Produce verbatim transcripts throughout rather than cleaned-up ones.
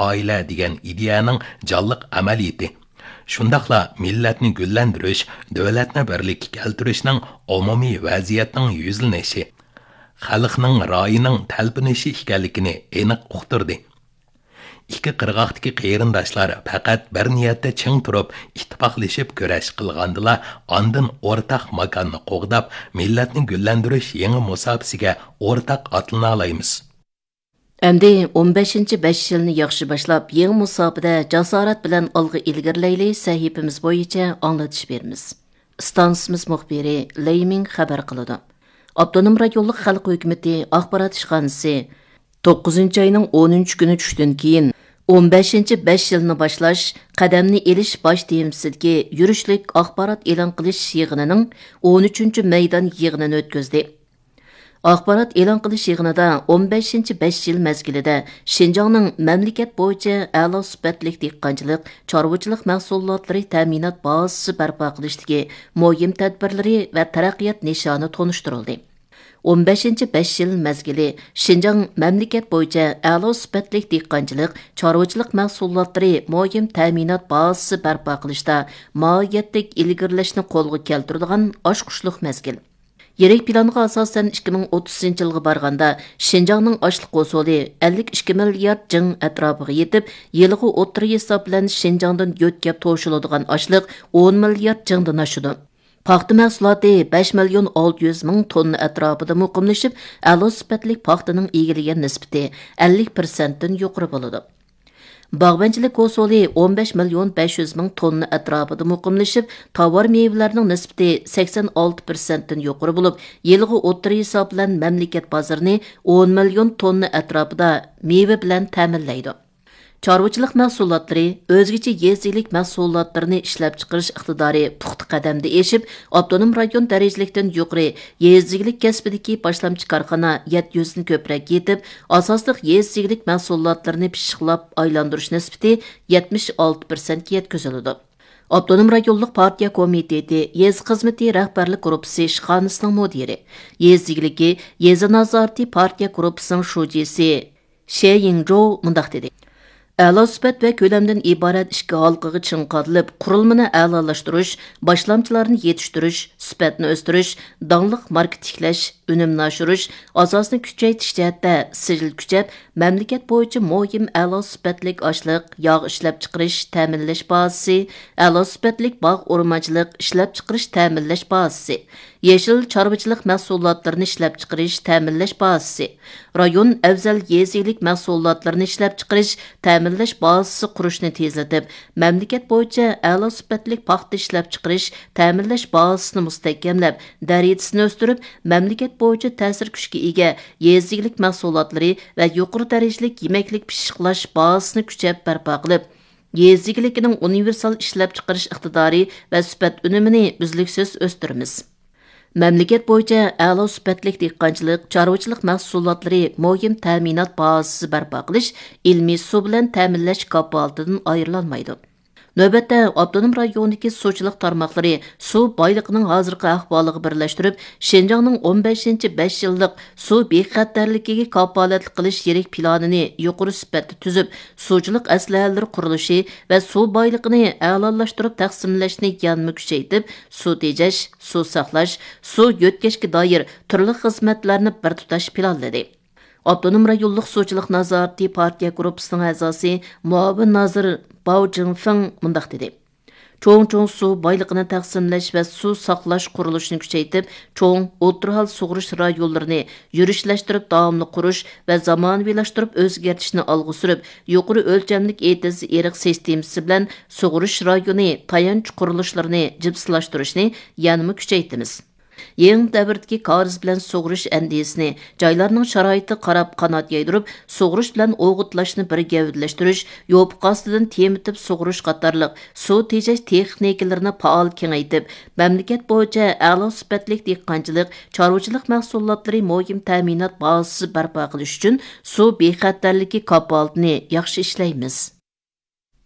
ئائىلە دېگەن ئىدىيەنىڭ جانلىق ئەمەلىيىتى، شۇنداقلا مىللەتنى گۈللەندۈرۈش، دۆلەتنى بىرلىككە كەلتۈرۈشنىڭ ئومۇمىي ۋەزىيەتنىڭ يۈزلىنىشى، خەلقنىڭ رايىنىڭ تەلپۈنۈشى ئىكەنلىكىنى ئېنىق ئۇقتۇردى. ئىككى قىرغاقتىكى قېرىنداشلار پەقەت بىر نىيەتتە چىڭ تۇرۇپ، ئىتتىپاقلىشىپ كۈرەش قىلغاندىلا، ئاندىن ئورتاق ماكاننى قوغداپ، مىللەتنى گۈللەندۈرۈش يېڭى مۇساپىسىگە ئورتاق ئاتلىنالايمىز. ئەمدى ئون بەشىنچى بەش يىلنى ياخشى باشلاپ، يېڭى مۇساپىدە جاسارەت بىلەن ئالغا ئىلگىرىلەيلى سەھىپىمىز بويىچە ئاڭلىتىش بېرىمىز. ئىستانسىمىز مۇخبىرى لېي مىڭ خەۋەر قىلىدۇ. ئاپتونوم رايونلۇق خەلق ھۆكۈمىتى ئاخبارات ئىشخانىسى توققۇزىنچى ئاينىڭ ئونىنچى كۈنى چۈشتىن كېيىن، ئون بەشىنچى بەش يىلنى باشلاش، قەدەمنى ئېلىش باش تېمىسىدىكى يۈرۈشلۈك ئاخبارات ئېلان قىلىش يىغىنىنىڭ ئون ئۈچىنچى مەيدان يىغىنىنى ئۆتكۈزدى. ئاخبارات ئېلان قىلىش يىغىنىدا ئون بەشىنچى بەش يىل مەزگىلىدە شىنجاڭنىڭ مەملىكەت بويىچە ئەلا سۈپەتلىك دېھقانچىلىق، چارۋىچىلىق مەھسۇلاتلىرى تەمىنات بازىسى بەرپا قىلىشتىكى مۇھىم تەدبىرلىرى ۋە تەرەققىيات نىشانى تونۇشتۇرۇلدى. ئون بەشىنچى بەش يىل مەزگىلى شىنجاڭ مەملىكەت بويىچە ئەلا سۈپەتلىك دېھقانچىلىق، چارۋىچىلىق مەھسۇلاتلىرى مۇھىم تەمىنات بازىسى بەرپا قىلىشتا ماھىيەتلىك ئىلگىرىلەشنى قولغا كەلتۈرىدىغان ئاچقۇچلۇق مەزگىل. يىرىك پىلانغا ئاساسەن، ئىككى مىڭ ئوتتۇزىنچى يىلغا بارغاندا، شىنجاڭنىڭ ئاشلىق ھوسۇلى ئەللىك ئىككى مىليارد جىڭ ئەتراپىغا يېتىپ، يىلىغا ئوتتۇرا ھېساب بىلەن شىنجاڭدىن يۆتكەپ توشۇلىدىغان ئاشلىق ئون مىليارد جىڭدىن ئاشىدۇ. پاختا مەھسۇلاتى بەش مىليون ئالتە يۈز مىڭ توننا ئەتراپىدا مۇقىملىشىپ، ئەلا سۈپەتلىك پاختىنىڭ ئىگىلىگەن نىسبىتى ئەللىك پىرسەنتتىن يۇقىرى بولىدۇ. باغۋەنچىلىك ھوسۇلى ئون بەش مىليون بەش يۈز مىڭ توننا ئەتراپىدا مۇقىملىشىپ، تاۋار مېۋىلەرنىڭ نىسبىتى سەكسەن ئالتە پىرسەنتتىن يۇقىرى بولۇپ، يىلغا ئوتتۇرا ھېساب بىلەن مەملىكەت بازىرىنى ئون مىليون توننا ئەتراپىدا مېۋە بىلەن تەمىنلەيدۇ. چارۋىچىلىق مەھسۇلاتلىرى، ئۆزگىچە يېزا ئىگىلىك مەھسۇلاتلىرىنى ئىشلەپچىقىرىش ئىقتىدارى پۇختا قەدەمدە ئېشىپ، ئاپتونوم رايون دەرىجىلىكتىن يۇقىرى يېزا ئىگىلىك كەسپىدىكى باشلامچى كارخانا يەتتە يۈزدىن كۆپرەك يېتىپ، ئاساسلىق يېزا ئىگىلىك مەھسۇلاتلىرىنى پىششىقلاپ ئايلاندۇرۇش نىسبىتى يەتمىش ئالتە پىرسەنتكە يەتكۈزۈلىدۇ. ئاپتونوم رايونلۇق پارتىيە كومىتېتى يېزا خىزمىتى رەھبەرلىك گۇرۇپپىسى ئىشخانىسىنىڭ مۇدىرى، يېزا ئىگىلىكى، يېزا نازارىتى پارتىيە گۇرۇپپىسىنىڭ شۇجىسى شې يىڭجوۋ مۇنداق دېدى: ئەلا سۈپەت ۋە كۆلەمدىن ئىبارەت ئىككى ھالقىغا چىڭ قادىلىپ، قۇرۇلمىنى ئەلالاشتۇرۇش، باشلامچىلارنى يېتىشتۈرۈش، سۈپەتنى ئۆستۈرۈش، داڭلىق ماركا تىكلەش، ئۈنۈمنى ئاشۇرۇش، ئاساسنى كۈچەيتىش جەھەتتە سىجىل كۈچەپ، مەملىكەت بويىچە مۇھىم ئەلا سۈپەتلىك ئاشلىق، ياغ ئىشلەپچىقىرىش، تەمىنلەش بازىسى، ئەلا سۈپەتلىك باغ ئورمانچىلىق ئىشلەپچىقىرىش، تەمىنلەش بازىسى، يېشىل چارۋىچىلىق مەھسۇلاتلىرىنى ئىشلەپچىقىرىش، تەمىنلەش بازىسى، رايون ئەۋزەل يېزا ئىگىلىك مەھسۇلاتلىرىنى ئىشلەپچىقىرىش، تەمىنلەش بازىسى قۇرۇشنى تېزلىتىپ، مەملىكەت بويىچە ئەلا سۈپەتلىك پاختا ئىشلەپچىقىرىش، تەمىنلەش بازىسىنى مۇستەھكەملەپ، دەرىجىسىنى ئۆستۈرۈپ، مەملىكەت بويىچە تەسىر كۈچكە ئىگە يېزا ئىگىلىك مەھسۇلاتلىرى ۋە يۇقىرى دەرىجىلىك يېمەكلىك پىششىقلاش بازىسىنى كۈچەپ بەرپا قىلىپ، يېزا ئىگىلىكىنىڭ ئۇنىۋېرسال ئىشلەپچىقىرىش ئىقتىدارى ۋە سۈپەت ئۈنۈمىنى ئۈزلۈكسىز ئۆستۈرىمىز. مەملىكەت بويىچە ئەلا سۈپەتلىك دېھقانچىلىق، چارۋىچىلىق مەھسۇلاتلىرى مۇھىم تەمىنات بازىسى بەرپا قىلىش، ئىلمىي سۇ بىلەن تەمىنلەش كاپالىتىدىن ئايرىلالمايدۇ. نۆۋەتتە، ئاپتونوم رايوندىكى سۇچىلىق تارماقلىرى سۇ بايلىقىنىڭ ھازىرقى ئەھۋالىغا بىرلەشتۈرۈپ، شىنجاڭنىڭ ئون بەشىنچى بەش يىللىق سۇ بىخەتەرلىكىگە كاپالەتلىك قىلىش يىرىك پىلانىنى يۇقىرى سۈپەتتە تۈزۈپ، سۇچىلىق ئەسلىھەلىرى قۇرۇلۇشى ۋە سۇ بايلىقىنى ئەلالاشتۇرۇپ تەقسىملەشنى يەنىمۇ كۈچەيتىپ، سۇ تېجەش، سۇ ساقلاش، سۇ يۆتكەشكە دائىر تۈرلۈك خىزمەتلەرنى بىر تۇتاش پىلانلىدى. ئاپتونوم رايونلۇق سۇچىلىق نازارىتى پارتىيە گۇرۇپپىسىنىڭ ئەزاسى، مۇئاۋىن نازىر باۋ جىڭفېڭ مۇنداق دېدى: چوڭ-چوڭ سۇ بايلىقىنى تەقسىملەش ۋە سۇ ساقلاش قۇرۇلۇشىنى كۈچەيتىپ، چوڭ، ئوتتۇرا ھال سۇغىرىش رايونلىرىنى يۈرۈشلەشتۈرۈپ داۋاملىق قۇرۇش ۋە زامانىۋىلاشتۇرۇپ ئۆزگەرتىشنى ئالغا سۈرۈپ، يۇقىرى ئۆلچەملىك ئېتىز ئېرىق سىستېمىسى بىلەن سۇغىرىش رايونى تايانچ قۇرۇلۇشلىرىنى جىپسىلاشتۇرۇشنى يەنىمۇ كۈچەيتىمىز. يېڭى دەۋردىكى كارىز بىلەن سۇغىرىش ئەندىزىسىنى جايلارنىڭ شارائىتىغا قاراپ قانات يايدۇرۇپ، سۇغىرىش بىلەن ئوغۇتلاشنى بىر گەۋدىلەشتۈرۈش، يوپۇق ئاستىدىن تېمىتىپ سۇغىرىش قاتارلىق سۇ تېجەش تېخنىكىلىرىنى پائال كېڭەيتىپ، مەملىكەت بويىچە ئەلا سۈپەتلىك دېھقانچىلىق، چارۋىچىلىق مەھسۇلاتلىرى مۇھىم تەمىنات بازىسى بەرپا قىلىش ئۈچۈن سۇ بىخەتەرلىكى كاپالىتىنى ياخشى ئىشلەيمىز.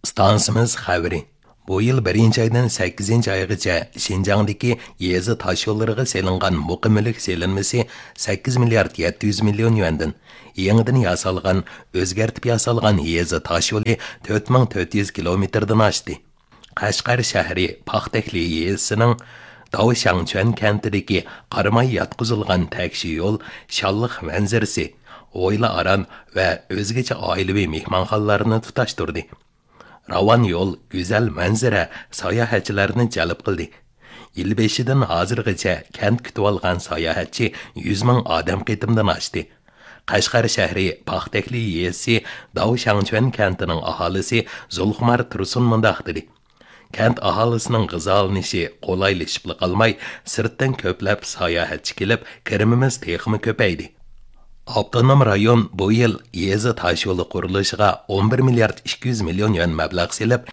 ئىستانسىمىز خەۋىرى. بۇ يىل بىرىنچى ئايدىن سەككىزىنچى ئايغىچە شىنجاڭدىكى يېزا تاشيوللىرىغا سېلىنغان مۇقىم مۈلۈك سېلىنمىسى سەككىز مىليارد يەتتە يۈز مىليون يۈەندىن، يېڭىدىن ياسالغان، ئۆزگەرتىپ ياسالغان يېزا تاشيولى تۆت مىڭ تۆت يۈز كىلومېتىردىن ئاشتى. قەشقەر شەھىرى پاختەكلى يېزىسىنىڭ داۋشاڭچۈەن كەنتىدىكى قاراماي ياتقۇزۇلغان تەكشى يول شانلىق مەنزىرىسى، ھويلا ئاران ۋە ئۆزگىچە ئائىلىۋى مېھمانخانىلارنى تۇتاشتۇردى. راۋان يول گۈزەل مەنزىرە ساياھەتچىلەرنى جەلپ قىلدى. يىل بېشىدىن ھازىرغىچە كەنت كۈتۈۋالغان ساياھەتچى يۈز مىڭ ئادەم قېتىمدىن ئاشتى. قەشقەر شەھىرى پاختەكلى يېزىسى داۋشاڭچۈەن كەنتىنىڭ ئاھالىسى زۇلخۇمار تۇرسۇن مۇنداق دېدى: كەنت ئاھالىسىنىڭ غىزالىنىشى قولايلىشىپلا قالماي، سىرتتىن كۆپلەپ ساياھەتچى كېلىپ، كىرىمىمىز تېخىمۇ كۆپەيدى. ئاپتونوم رايون بۇ يىل يېزا تاشيولى قۇرۇلۇشىغا ئون بىر مىليارد ئىككى يۈز مىليون يۈەن مەبلەغ سېلىپ،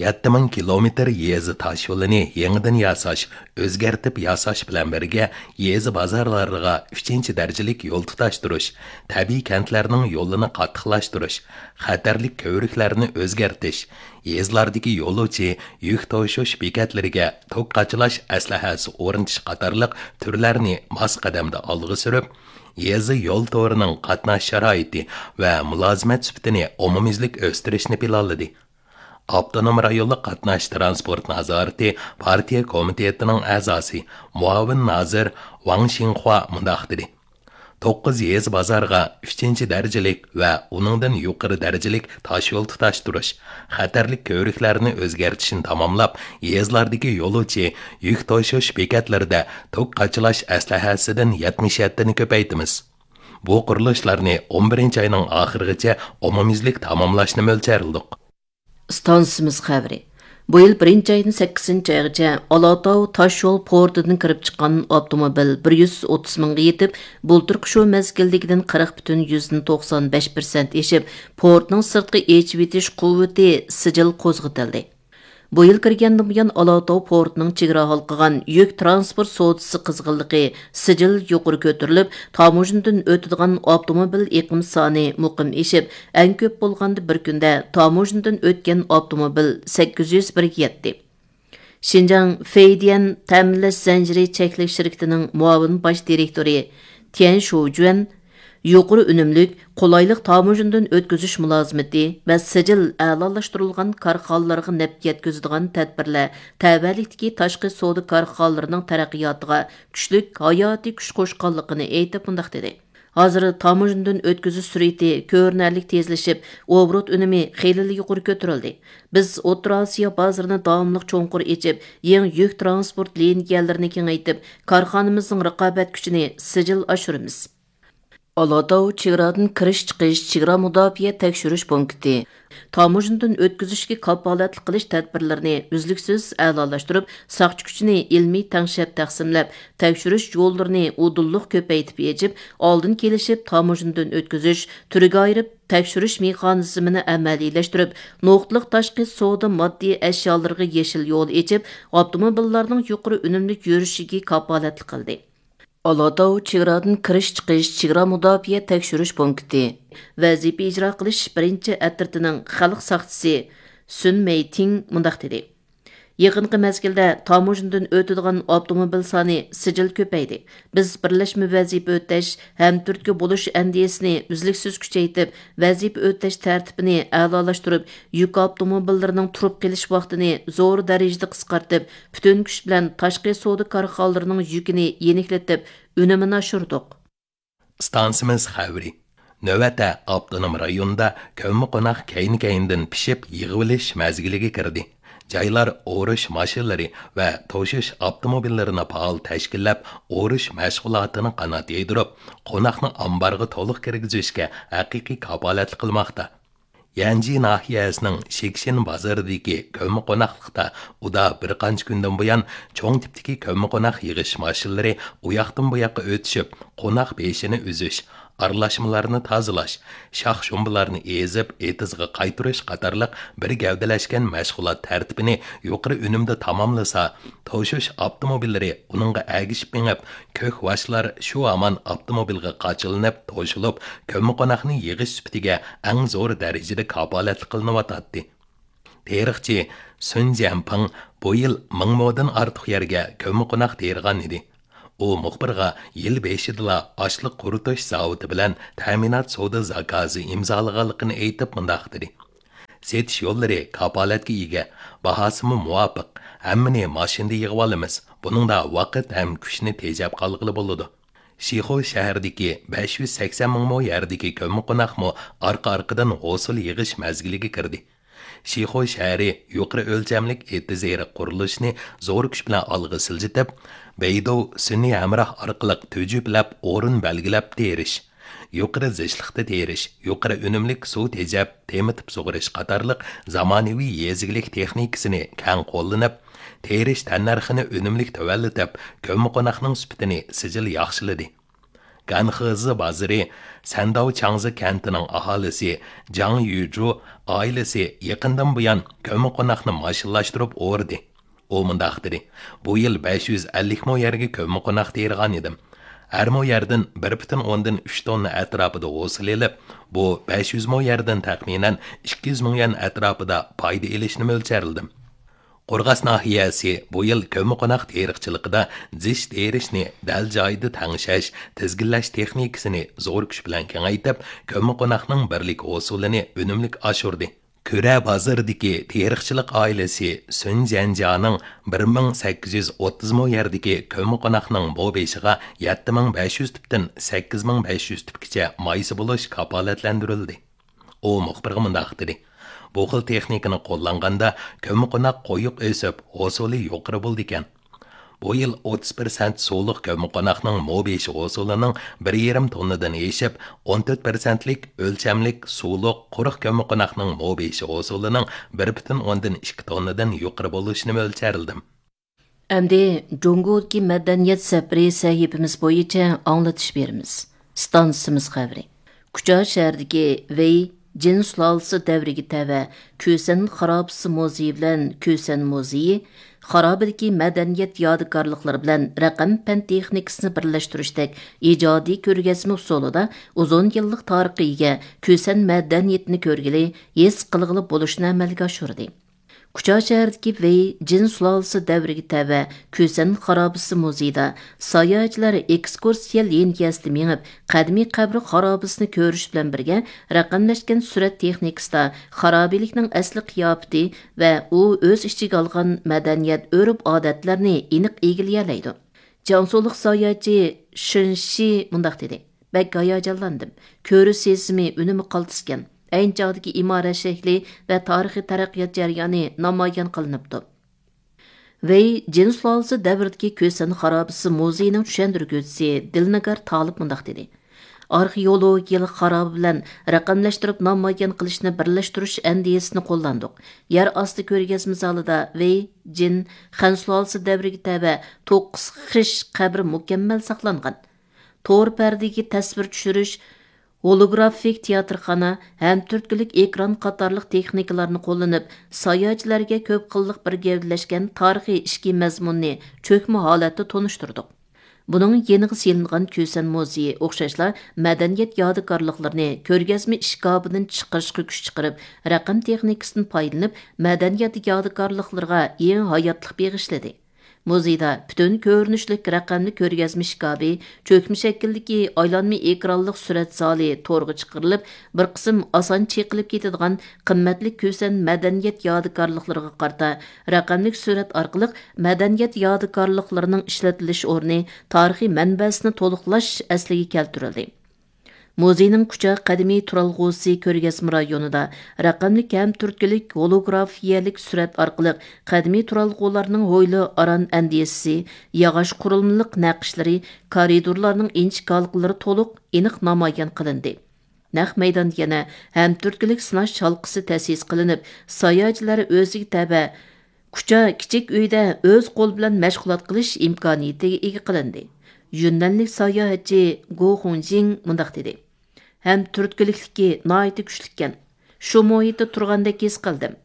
يەتتە مىڭ كىلومېتىر يېزا تاشيولىنى يېڭىدىن ياساش، ئۆزگەرتىپ ياساش بىلەن بىرگە، يېزا بازارلارغا ئۈچىنچى دەرىجىلىك يول تۇتاشتۇرۇش، تەبىئىي كەنتلەرنىڭ يولىنى قاتتىقلاشتۇرۇش، خەتەرلىك كۆۋرۈكلەرنى ئۆزگەرتىش، يېزىلاردىكى يولۇچى يۈك توشۇش بېكەتلىرىگە توك قاچىلاش ئەسلىھەسى ئورنىتىش قاتارلىق تۈرلەرنى ماس قەدەمدە ئالغا سۈرۈپ، يېزا يول تورىنىڭ قاتناش شارائىتى ۋە مۇلازىمەت سۈپىتىنى ئومۇميۈزلۈك ئۆستۈرۈشنى پىلانلىدى. ئاپتونوم رايونلۇق قاتناش تىرانسپورت نازارىتى پارتىيە كومىتېتىنىڭ ئەزاسى، مۇئاۋىن نازىر ۋاڭ شىڭخۇا مۇنداق دېدى: توققۇز يېزا بازارغا ئۈچىنچى دەرىجىلىك ۋە ئۇنىڭدىن يۇقىرى دەرىجىلىك تاشيول تۇتاشتۇرۇش، خەتەرلىك كۆۋرۈكلەرنى ئۆزگەرتىشنى تاماملاپ، يېزىلاردىكى يولۇچى يۈك توشۇش بېكەتلىرىدە توك قاچىلاش ئەسلىھەسىدىن يەتمىش يەتتىنى كۆپەيتىمىز. بۇ قۇرۇلۇشلارنى ئون بىرىنچى ئاينىڭ ئاخىرىغىچە ئومۇميۈزلۈك تاماملاشنى مۆلچەرلىدۇق. ئىستانسىمىز خەۋىرى. بۇ يىل بىرىنچى ئايدىن سەككىزىنچى ئايغىچە ئالاتاۋ تاشيول پورتىدىن كىرىپ چىققان ئاپتوموبىل بىر يۈز ئوتتۇز مىڭغا يېتىپ، بۇلتۇرقى شۇ مەزگىلدىكىدىن قىرىق پۈتۈن يۈزدىن توقسان بەش پىرسەنت ئېشىپ، پورتنىڭ سىرتقى ئېچىۋېتىش قۇۋۋىتى سىجىل قوزغىتىلدى. بۇ يىل كىرگەندىن بۇيان، ئالاتاۋ پورتىنىڭ چېگرا ھالقىغان يۈك تىرانسپورت سودىسى قىزغىنلىقى سىجىل يۇقىرى كۆتۈرۈلۈپ، تاموژنىدىن ئۆتىدىغان ئاپتوموبىل ئېقىم سانى مۇقىم ئېشىپ، ئەڭ كۆپ بولغاندا بىر كۈندە تاموژنىدىن ئۆتكەن ئاپتوموبىل سەككىز يۈز بىرگە يەتتى. شىنجاڭ فېيديەن تەمىنلەش زەنجىرى چەكلىك شىركىتىنىڭ مۇئاۋىن باش دىرېكتورى تيەن شۇجۈەن يۇقىرى ئۈنۈملۈك، قولايلىق تاموژنىدىن ئۆتكۈزۈش مۇلازىمىتى ۋە سىجىل ئەلالاشتۇرۇلغان كارخانىلارغا نەپ يەتكۈزىدىغان تەدبىرلەر تەۋەلىكتىكى تاشقى سودا كارخانىلىرىنىڭ تەرەققىياتىغا كۈچلۈك ھاياتىي كۈچ قوشقانلىقىنى ئېيتىپ مۇنداق دېدى: ھازىر تاموژنىدىن ئۆتكۈزۈش سۈرئىتى كۆرۈنەرلىك تېزلىشىپ، ئوبوروت ئۈنۈمى خېلىلا يۇقىرى كۆتۈرۈلدى. بىز ئوتتۇرا ئاسىيا بازىرىنى داۋاملىق چوڭقۇر ئېچىپ، يېڭى يۈك تىرانسپورت لىنىيەلىرىنى كېڭەيتىپ، كارخانىمىزنىڭ رىقابەت كۈچىنى سىجىل ئاشۇرىمىز. ئالاتاۋ چېگرادىن كىرىش-چىقىش چېگرا مۇداپىئە تەكشۈرۈش پونكىتى تاموژنىدىن ئۆتكۈزۈشكە كاپالەتلىك قىلىش تەدبىرلىرىنى ئۈزلۈكسىز ئەلالاشتۇرۇپ، ساقچى كۈچىنى ئىلمىي تەڭشەپ تەقسىملەپ، تەكشۈرۈش يوللىرىنى ئۇدۇللۇق كۆپەيتىپ ئېچىپ، ئالدىن كېلىشىپ تاموژنىدىن ئۆتكۈزۈش، تۈرگە ئايرىپ تەكشۈرۈش مېخانىزمىنى ئەمەلىيلەشتۈرۈپ، نۇقتىلىق تاشقى سودا ماددىي ئەشيالىرىغا يېشىل يول ئېچىپ، ئاپتوموبىللارنىڭ يۇقىرى ئۈنۈملۈك يۈرۈشىگە كاپالەتلىك قىلدى. ئالاتاۋ چېگرادىن كىرىش-چىقىش چېگرا مۇداپىئە تەكشۈرۈش پونكىتى ۋەزىپە ئىجرا قىلىش بىرىنچى ئەترىتىنىڭ خەلق ساقچىسى سۈن مەيتىڭ مۇنداق دېدى: يېقىنقى مەزگىلدە تاموژنىدىن ئۆتىدىغان ئاپتوموبىل سانى سىجىل كۆپەيدى. بىز بىرلەشمە ۋەزىپە ئۆتەش، ھەمتۈرتكە بولۇش ئەندىزىسىنى ئۈزلۈكسىز كۈچەيتىپ، ۋەزىپە ئۆتەش تەرتىپىنى ئەلالاشتۇرۇپ، يۈك ئاپتوموبىللىرىنىڭ تۇرۇپ قېلىش ۋاقتىنى زور دەرىجىدە قىسقارتىپ، پۈتۈن كۈچ بىلەن تاشقى سودا كارخانىلىرىنىڭ يۈكىنى يېنىكلىتىپ، ئۈنۈمىنى ئاشۇردۇق. ئىستانسىمىز خەۋىرى. نۆۋەتتە ئاپتونوم رايوندا كۆممىقوناق كەينى-كەينىدىن پىشىپ يىغىۋېلىش مەزگىلىگە كىردى. جايلار ئورۇش ماشىنىلىرى ۋە توشۇش ئاپتوموبىللىرىنى پائال تەشكىللەپ، ئورۇش مەشغۇلاتىنى قانات يايدۇرۇپ، قوناقنى ئامبارغا تولۇق كىرگۈزۈشكە ھەقىقىي كاپالەتلىك قىلماقتا. يەنجى ناھىيەسىنىڭ شىكشىن بازىرىدىكى كۆممىقوناقلىقتا ئۇدا بىر قانچە كۈندىن بۇيان چوڭ تىپتىكى كۆممىقوناق يىغىش ماشىنىلىرى ئۇياقتىن بۇياققا ئۆتۈشۈپ، قوناق بېشىنى ئۈزۈش، ئارىلاشمىلارنى تازىلاش، شاخ-شۇمبىلارنى ئېزىپ، ئېتىزغا قايتۇرۇش قاتارلىق بىر گەۋدىلەشكەن مەشغۇلات تەرتىپىنى يۇقىرى ئۈنۈمدە تاماملىسا، توشۇش ئاپتوموبىللىرى ئۇنىڭغا ئەگىشىپ مېڭىپ، كۆك ۋاشلار شۇ ھامان ئاپتوموبىلغا قاچىلىنىپ توشۇلۇپ، كۆممىقوناقنى يىغىش سۈپىتىگە ئەڭ زور دەرىجىدە كاپالەتلىك قىلىنىۋاتاتتى. تېرىقچى سۈن جيەنپىڭ بۇ يىل مىڭ مودىن ئارتۇق يەرگە كۆممىقوناق تېرىغان ئىدى. ئۇ مۇخبىرغا يىل بېشىدىلا ئاشلىق قۇرۇتۇش زاۋۇتى بىلەن تەمىنات سودا زاكازى ئىمزالىغانلىقىنى ئېيتىپ مۇنداق دېدى: «سېتىش يوللىرى كاپالەتكە ئىگە، باھاسىمۇ مۇۋاپىق، ھەممىنى ماشىنىدا يىغىۋالىمىز، بۇنىڭدا ۋاقىت ھەم كۈچنى تېجەپ قالغىلى بولىدۇ.» شىخۇ شەھىرىدىكى بەش يۈز سەكسەن مىڭ مو يەردىكى كۆممىقوناقمۇ ئارقا-ئارقىدىن ھوسۇل يىغىش مەزگىلىگە كىردى. شىخۇ شەھىرى يۇقىرى ئۆلچەملىك ئېتىز ئېرىق قۇرۇلۇشىنى زور كۈچ بىلەن ئالغا سىلجىتىپ، بەيدۇ سۈنئىي ھەمراھ ئارقىلىق تۈجۈپلەپ ئورۇن بەلگىلەپ تېرىش، يۇقىرى زىچلىقتا تېرىش، يۇقىرى ئۈنۈملۈك سۇ تېجەپ تېمىتىپ سۇغىرىش قاتارلىق زامانىۋى يېزا ئىگىلىك تېخنىكىسىنى كەڭ قوللىنىپ، تېرىش تەننەرخىنى ئۈنۈملۈك تۆۋەنلىتىپ، كۆممىقوناقنىڭ سۈپىتىنى سىجىل ياخشىلىدى. گەنخېزى بازىرى سەنداۋ چاڭزى كەنتىنىڭ ئاھالىسى جاڭ يۈجۇ ئائىلىسى يېقىندىن بۇيان كۆممىقوناقنى ماشىنىلاشتۇرۇپ ئورىدى. ئۇ مۇنداق دېدى: «بۇ يىل بەش يۈز ئەللىك مو يەرگە كۆممىقوناق تېرىغان ئىدىم. ھەر مو يەردىن بىر پۈتۈن ئوندىن ئۈچ توننا ئەتراپىدا ھوسۇل ئېلىپ، بۇ بەش يۈز مو يەردىن تەخمىنەن ئىككى يۈز مىڭ يۈەن ئەتراپىدا پايدا ئېلىشنى مۆلچەرلىدىم.» قورغاس ناھىيەسى بۇ يىل كۆممىقوناق تېرىقچىلىقىدا زىچ تېرىشنى دەل جايىدا تەڭشەش، تىزگىنلەش تېخنىكىسىنى زور كۈچ بىلەن كېڭەيتىپ، كۆممىقوناقنىڭ بىرلىك ھوسۇلىنى ئۈنۈملۈك ئاشۇردى. كۈرە بازىرىدىكى تېرىقچىلىق ئائىلىسى سۈن جيەنجيانىڭ بىر مىڭ سەككىز يۈز ئوتتۇز مو يەردىكى كۆممىقوناقنىڭ مو بېشىغا يەتتە مىڭ بەش يۈز تۈپتىن سەككىز مىڭ بەش يۈز تۈپكىچە مايسا بولۇش كاپالەتلەندۈرۈلدى. ئۇ مۇخبىرغا مۇنداق دېدى: «بۇ خىل تېخنىكىنى قوللانغاندا، كۆممىقوناق قويۇق ئۆسۈپ، ھوسۇلى يۇقىرى بولىدىكەن. بۇ يىل ئوتتۇز پىرسەنت سۇلۇق كۆممىقوناقنىڭ مو بېشى ھوسۇلىنىڭ بىر يېرىم توننىدىن ئېشىپ، ئون تۆت پىرسەنتلىك ئۆلچەملىك سۇلۇق قۇرۇق كۆممىقوناقنىڭ مو بېشى ھوسۇلىنىڭ بىر پۈتۈن ئوندىن ئىككى توننىدىن يۇقىرى بولۇشىنى مۆلچەرلىدىم.» ئەمدى جۇڭگودىكى مەدەنىيەت سەپىرى سەھىپىمىز بويىچە ئاڭلىتىش بېرىمىز. ئىستانسىمىز خەۋىرى. كۇچا شەھىرىدىكى ۋېي جىن سۇلالىسى دەۋرىگە تەۋە كۈسەن خارابىسى مۇزېيى بىلەن كۈسەن مۇزېيى خارابىدىكى مەدەنىيەت يادىكارلىقلىرى بىلەن رەقەم پەن تېخنىكىسىنى بىرلەشتۈرۈشتەك ئىجادىي كۆرگەزمە ئۇسۇلىدا ئۇزۇن يىللىق تارىخقا ئىگە كۈسەن مەدەنىيىتىنى كۆرگىلى، ھېس قىلغىلى بولۇشنى ئەمەلگە ئاشۇردى. كۇچا شەھىرىدىكى ۋېي جىن سۇلالىسى دەۋرىگە تەۋە كۈسەن خارابىسى مۇزېيىدا ساياھەتچىلەر ئېكسكۇرسىيە لىنىيەسىدە مېڭىپ، قەدىمىي قەبرە خارابىسىنى كۆرۈش بىلەن بىرگە، رەقەملەشكەن سۈرەت تېخنىكىسىدا خارابىلىكنىڭ ئەسلى قىياپىتى ۋە ئۇ ئۆز ئىچىگە ئالغان مەدەنىيەت، ئۆرپ-ئادەتلەرنى ئېنىق ئىگىلىيەلەيدۇ. جياڭسۇلۇق ساياھەتچى شېن شى مۇنداق دېدى: «بەك ھاياجانلاندىم. كۆرۈش سېزىمى ئۈنۈمى قالتىسكەن. ئەينى چاغدىكى ئىمارەت شەكلى ۋە تارىخىي تەرەققىيات جەريانى نامايان قىلىنىپتۇ.» ۋېي جىن سۇلالىسى دەۋرىدىكى كۈسەن خارابىسى مۇزېيىنىڭ چۈشەندۈرگۈچىسى دىلنىگار تالىپ مۇنداق دېدى: «ئارخېئولوگىيەلىك خارابە بىلەن رەقەملەشتۈرۈپ نامايان قىلىشنى بىرلەشتۈرۈش ئەندىزىسىنى قوللاندۇق. يەر ئاستى كۆرگەزمە زالىدا ۋېي جىن خەن سۇلالىسى دەۋرىگە تەۋە توققۇز خىش قەبرە مۇكەممەل ساقلانغان. تور پەردىگە تەسۋىر چۈشۈرۈش، ھولوگرافىك تىياتىرخانا ھەم تۈرتكىلىك ئېكران قاتارلىق تېخنىكىلارنى قوللىنىپ، ساياھەتچىلەرگە كۆپ خىللىق بىر گەۋدىلەشكەن تارىخىي ئىچكى مەزمۇننى چۆكمە ھالەتتە تونۇشتۇردۇق. بۇنىڭ يېنىغا سېلىنغان كۈسەن مۇزېيى ئوخشاشلا مەدەنىيەت يادىكارلىقلىرىنى كۆرگەزمە ئىشكاپىدىن چىقىرىشقا كۈچ چىقىرىپ، رەقەم تېخنىكىسىدىن پايدىلىنىپ، مەدەنىيەت يادىكارلىقلىرىغا يېڭى ھاياتلىق بېغىشلىدى.» مۇزېيدا پۈتۈن كۆرۈنۈشلۈك رەقەملىك كۆرگەزمە ئىشكاپى، چۆكمە شەكىلدىكى ئايلانما ئېكرانلىق سۈرەت زالى تورغا چىقىرىلىپ، بىر قىسىم ئاسان چېقىلىپ كېتىدىغان قىممەتلىك كۈسەن مەدەنىيەت يادىكارلىقلىرىغا قارىتا رەقەملىك سۈرەت ئارقىلىق مەدەنىيەت يادىكارلىقلىرىنىڭ ئىشلىتىلىش ئورنى، تارىخىي مەنبەسىنى تولۇقلاش ئەسلىگە كەلتۈرۈلدى. مۇزېينىڭ كۇچا قەدىمىي تۇرالغۇسى كۆرگەزمە رايونىدا رەقەملىك ھەم تۈرتكىلىك ھولوگرافىيەلىك سۈرەت ئارقىلىق قەدىمىي تۇرالغۇلارنىڭ ھويلا ئاران ئەندىزىسى، ياغاچ قۇرۇلمىلىق نەقىشلىرى، كارىدورلارنىڭ ئىنچىكە ھالقىلىرى تولۇق ئېنىق نامايان قىلىندى. نەق مەيداندا يەنە ھەم تۈرتكىلىك سىناش ھالقىسى تەسىس قىلىنىپ، ساياھەتچىلەر ئۆزىگە تەۋە كۇچا كىچىك ئۆيدە ئۆز قولى بىلەن مەشغۇلات قىلىش ئىمكانىيىتىگە ئىگە قىلىندى. يۈننەنلىك ساياھەتچى گو خۇڭجىڭ مۇنداق دېدى: «ھەم تۈرتكىلىكلىكى ناھايىتى كۈچلۈككەن. شۇ مۇھىتتا تۇرغاندەك ھېس قىلدىم.»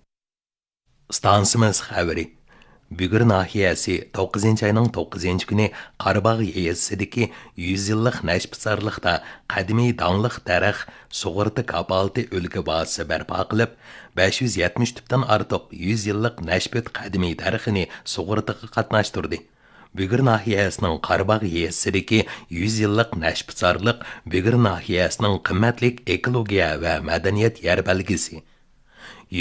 ئىستانسىمىز خەۋىرى. بۈگۈر ناھىيەسى توققۇزىنچى ئاينىڭ توققۇزىنچى كۈنى قاراباغ يېزىسىدىكى يۈز يىللىق نەشپۈتسارلىقتا قەدىمىي داڭلىق دەرەخ سۇغۇرتا كاپالىتى ئۈلكە بازىسى بەرپا قىلىپ، بەش يۈز يەتمىش تۈپتىن ئارتۇق يۈز يىللىق نەشپۈت قەدىمىي دەرىخىنى سۇغۇرتىغا قاتناشتۇردى. بۈگۈر ناھىيەسىنىڭ قاراباغ يېزىسىدىكى يۈز يىللىق نەشپۈتسارلىق بۈگۈر ناھىيەسىنىڭ قىممەتلىك ئېكولوگىيە ۋە مەدەنىيەت يەر بەلگىسى.